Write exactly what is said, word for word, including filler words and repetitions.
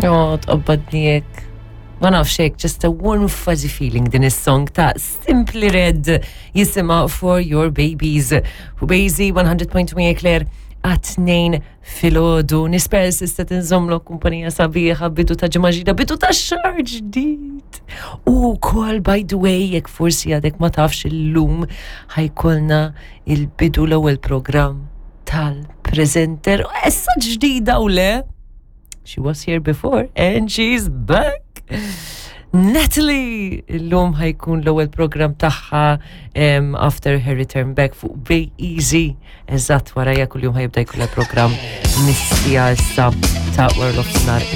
Oh, tqabbadni hekk. Ma nafx hekk, just a warm fuzzy feeling din is-song ta' Simply Red jisimha For Your Babies. Fu Bejzi mija u wieħed punt tmienja Claire għat-tnejn filgħodu. Nispera s'issa tinżommlu kumpanija sabiħa, bidu ta' ġimgħa ġdida, bidu ta' xahar ġdid. U kol, by the way, jekk forsi għadek ma tafx, illum ħa jkollna il-bidu, l-ewwel program tal-presenter. Issa ġdida u le? She was here before and she's back. Natalie! Illum ħa jkun l-ewwel program tagħha um, after her return back fuq Bay Easy. Eżatt warajja kuljum ħa jibda jkollha program mis-siegħa issa ta' wara nofsinhar.